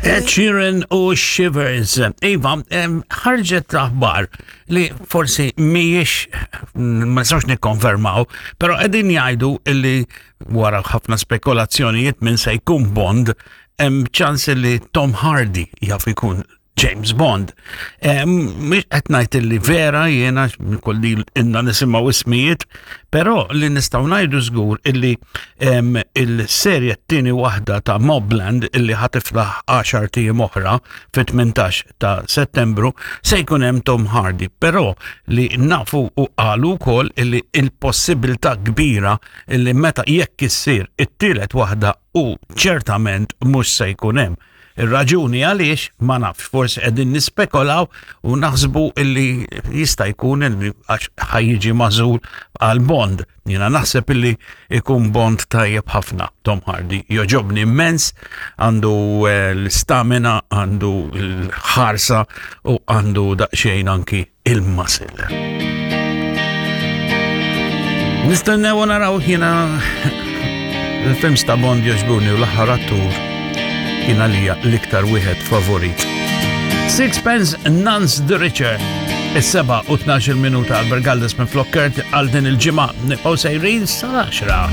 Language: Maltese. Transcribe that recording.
Ed Sheeran u Shivers. Iva, ħarġet l-aħbar li forsi mhijiex ma nistgħux nikkonfermaw, però qegħdin jgħidu illi wara ħafna spekulazzjonijiet minn se jkun Bond, hemm ċans li Tom Hardy jaf ikun James Bond. Mhux qed ngħid illi vera jiena kolli inna nisimgħu ismijiet, però li nistgħu ngħidu żgur illi il-serje t-tieni waħda ta' Mobland illi ħatiflaħ 10 tiem oħra fit-18 ta' Settembru se jkun hemm Tom Hardy, però li nafu u qalu wkoll illi il-possibilità kbira illi meta jekk issir it-tielet waħda u ċertament mhux se jkun hemm. Ir-raġuni għaliex ma nafx, forsi qegħdin nispekolaw u naħsbu illi jista' jkun illi għax ħajjiġi magħżul għal Bond. Jiena naħseb illi ikun Bond tajjeb ħafna. Tom Hardy joġobni immens, għandu eh, l-stamina, għandu l-ħarsa u għandu daqsxejn anki il-muscle. Nistennew u naraw jiena il-films ta' Bond joġbuni u l-aħħar attur kien għalija l-iktar wieħed favorit. Sixpence Nance the Richer. Is-7 u 12 minuta Albert Galdes minn Flokkert għal din il-ġimgħa nibqgħu sejrin sal-10.